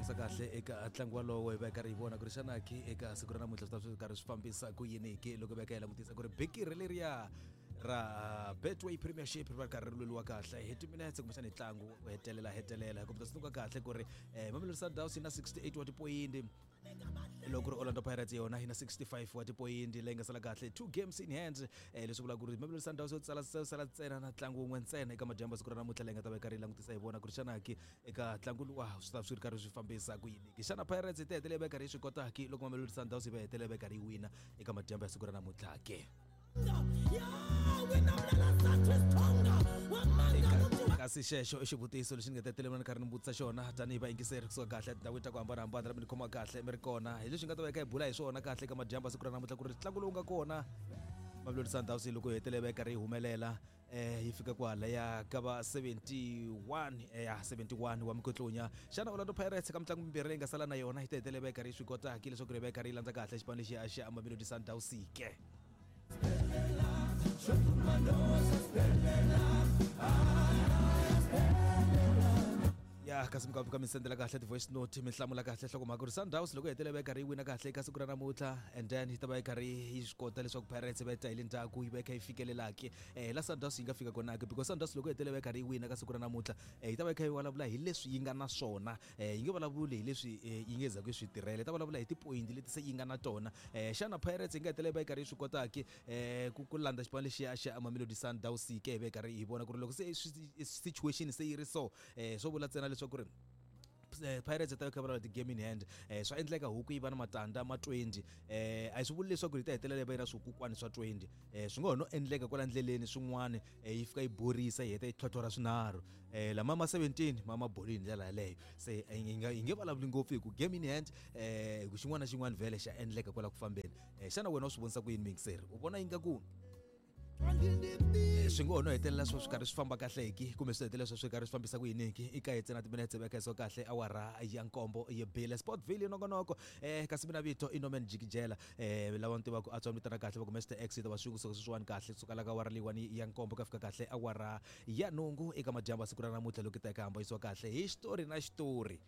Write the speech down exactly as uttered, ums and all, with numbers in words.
langusa kahle eka ntlangu walowo hi va hi karhi hi vona ku ri xana ki eka siku ra namuntlha swi ta swi karhi swi fambisa ku yini ki loko hi va hi kha hi langutisa ku ri bikiri leriya ra Betway Premiership ri va ri karhi ri lweliwa kahle hi timinetse kumbexana hi ntlangu wo hetelela hetelela hi ta tsundzuka kahle ku ri um Mamelodi Sundowns yi na sixty-eight wa tipoyindi, loko ku ri Orlando Pirates yona yi na sixty-five wa tipoyindi leyi nga sala kahle two games in hand. eh leswi vulaka ku ri Mamelodi Sundowns yo tsala sala ntsena na ntlangu wun'we ntsena eka madyambu ya siku ra namuntlha leyi nga ta va yi karhi yi langutisa hi vona ku ri xana ki eka ntlangu luwa swi ta swi ri karhi swi fambisa ku yini ki. Xana Pirates yi ta hetelela yi va yi karhi yi swi kota ki loko Mamelodi Sundowns yi va hetelela yi va yi karhi yi wina eka madyambu ya siku ra namuntlha ke? Kasi xexo i xivutiso lexi ni nga tetelela ni karhi ni vutisa xona tanihi vayingiseri kusuka kahle etindhawini ta ku hambanahambana mi ni khoma kahle mi ri kona hi leswi nga ta va hi kha hi bula hi swona kahle eka madyambu ya siku ra namuntlha ku ri ntlangu lowu nga kona Mamelodi Sundowns loko yi hetelela yi karhi yi humelela eh yi fika kwalaya ka va seventy-one ya seventy-one wa mikotlonya. Xana Orlando Pirates ka mitlangu mimbirhi leyi nga sala na yona yi ta hetelela yi karhi yi swi kota ki leswaku ri va yi karhi yi landza kahle xipano lexi a xa Mamelodi Sundowns ke? Ya kasi mi ka mi sendela kahle ti-voice note mi hlamula kahle nhlokomhaka ku ri Sundowns loko yi hetelela yi karhi yi wina kahle eka siku ra namuntlha and then yi ta va yi karhi yi swi kota leswaku Pirates va yi ta hi le ndzhaku yi va yi kha yi fikelelaki eh la Sundowns yi nga fika kona ke, because Sundowns loko yi hetelela yi karhi yi wina ka siku ra namuntlha eh yi ta va yi kha yi vulavula hi leswi yi nga na swona, eh yi nge vulavuli hi leswi yi nge zaku yi swi tirhela, yi ta vulavula hi tipoyinti leti se yi nga na tona. eh Xana Pirates yi nga hetelela yi karhi yi swi kotaki eh ku ku landza xipano lexiya xa Mamelodi Sundowns ke hi va yi karhi hi vona ku ri loko se situation se yi ri so eh swo vula ntsena leswaku ri Pirates ta kha vulavula ti-game in hand eh swa endleka huku yi va na matandza ma twenty eh a swi vuli leswaku yi ta hetelela yi va yi na swikukwani swa twenty eh swi nga ho no endleka kwala ndleleni swin'wana eh yi fika yi borisa yi heta yi tlhotlhora swinharhu eh lama ma seventeen ma ma boli hi ndlela yaleyo. Se yi nga yi nge vulavuli ngopfu hi ku game in hand eh hi ku xin'wana na xin'wana vhele xa endleka kwala ku fambeni. eh Xana wena u swi vonisa ku yini muyingiseri u vona ingaku swi ngo ho no hetelela swo swi karhi swi famba kahle ki kumbe swi hetelela swo swi karhi swi fambisa ku yini ki? I ka hi ntsena timinetse veka so kahle awara ya nkombo yi bile Sportville nongonoko eh kasi mina vito i Norman Jikijela eh lava ni tivaka a tswa mi vitana kahle va ku Mister X ta va swi kusuka sweswiwani kahle kusuka la ka awara leyiwani ya nkombo ka fika kahle awara ya nhungu eka madyambu ya siku ra namuntlha loko ta eka hamba yisiwa kahle hi xitori na xitori.